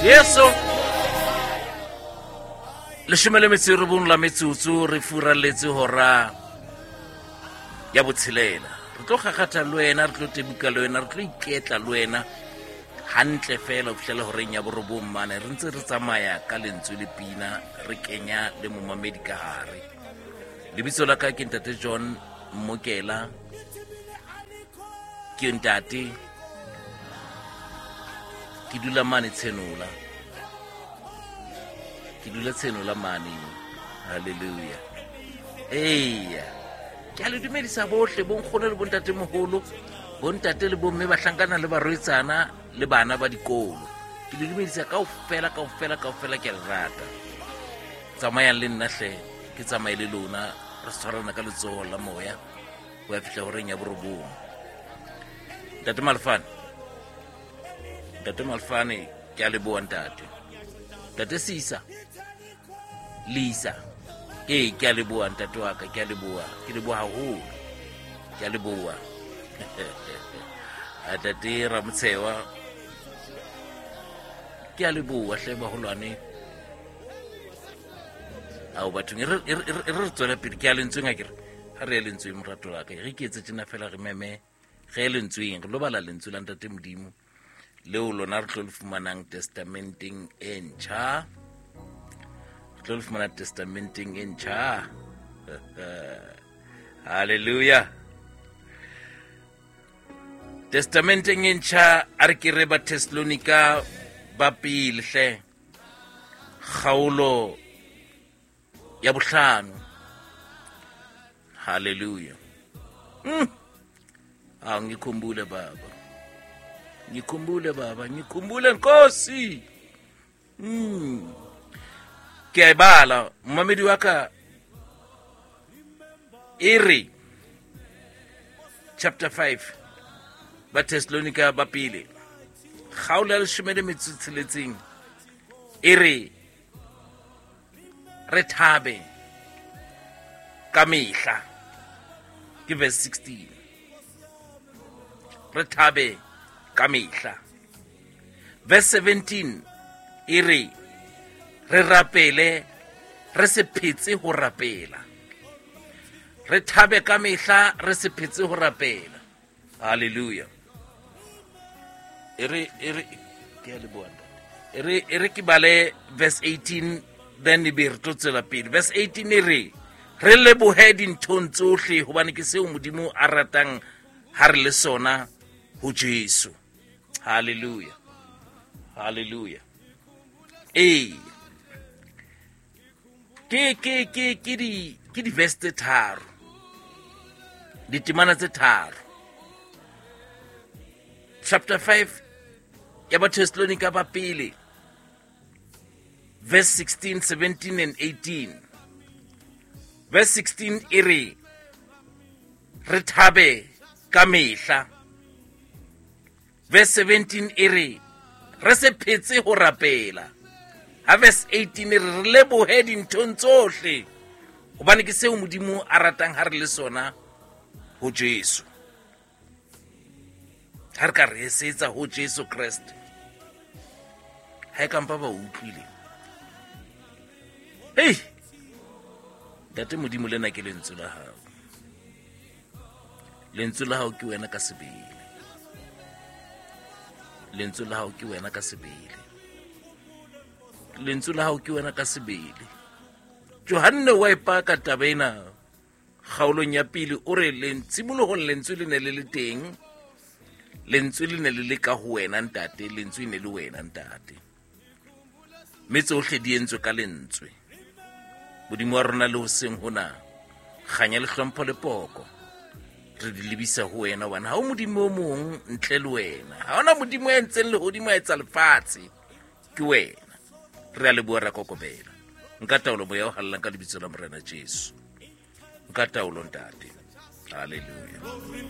Jesu. 19 la metsotso re furaletse hora ya botshelela. Re tlo kgakgatha le wena, re tlo tebuka le wena, re tlo iketla le wena hantle fela ho fihlela horeng ya borobong mane. Re ntse re tsamaya ka lentswe le pina, re kenya le momamedi ka hare. Lebitso la ka ke Ntate John Mmokela, ke ntate, ke dula mane Tshenola, ke dula Tshenola mane. Hallelujah. Eya, ke a le dumedisa bohle, bonkgono le bontatemoholo, bontate le bomme, bahlankana le barwetsana le bana ba dikolo. Ke le dumedisa kaofela, kaofela, kaofela, ke a le rata. Tsamayang le nna hle, ke tsamaye le lona, re tshwarana ka letsoho la moya ho ya fihla horeng ya borobong. Ntate Malefane, Ntate Malefane, ke a leboha ntate. Ntate Sisa, Lisa, ee, ke a leboha ntate wa ka, ke a leboha, ke leboha haholo, ke a leboha. Ntate Ramotshewa, ke a leboha hle baholwane. Ao bathong, e re re tswele pele, ke a lentsweng akere, ha re ye lentsweng morato la ka, re ke etse tjena fela re meme ge e lentsweng, re lo bala lentswe la Ntate Modimo leo lona re tlo le fumanang testamenteng e ntjha, re tlo le fumana testamenteng e ntjha. Hallelujah. Testamenteng e ntjha, a re ke re ba Thessalonika ba pele hle, kgaolo ya bohlano. Hallelujah. Ah, ngikhumbule baba, ngikhumbule baba, ngikhumbule Nkosi. Ke a e bala momamedi wa ka, e re chapter 5 ba Thessalonika ba pele, kgaolo ya 16, e re re thabe ka mehla. Ke verse 16, re thabe ka mehla. Verse 17 e re re rapele, re se phetse ho rapela. Re thabe ka mehla, re se phetse ho rapela. Hallelujah. E re, e re, ke a leboha ntate. E re, e re ke bale verse 18, then e be re tlo tswela pele. Verse 18 e re re lebohe dinthong tsohle, hobane ke seo Modimo a ratang ha re le sona ho Jesu. Hallelujah. Hallelujah. Ee. Ke, ke, ke, ke di, ke di verse tse tharo, ditemana tse tharo. Chapter 5 ya ba Thessalonika ba pele, verse 16, 17 and 18. Verse 16 e re re thabe ka mehla. Verse 17 e re re se phetse ho rapela. Ha verse 18 e re re lebohe dinthong tsohle, hobane ke seo Modimo a ratang ha re le sona ho Jesu. Ha re ka re esetsa ho Jesu Kreste, ha e kampa ba utlwile. Hei, Ntate Modimo, lena ke lentswe la hao. Lentswe la hao ke wena ka sebele. Lentswe la hao ke wena ka sebele. Lentswe la hao ke wena ka sebele. Johanne wa ipaka taba ena kgaolong ya pele, o re tshimolohong lentswe le ne le le teng, lentswe le ne le le ka ho wena ntate, lentswe ne le wena ntate, mme tsohle di entswe ka lentswe. Modimo wa rona le hoseng hona, kganya le hlompho le poko re di lebisa ho wena, hobane ha o Modimo o mong ntle le wena. Ha hona Modimo ya entseng lehodimo, a etsa lefatshe, ke wena. Re a leboha, ra kokobela. Nka taolo moya o hallang ka lebitso la Morena Jesu. Nka taolo ntate. Hallelujah.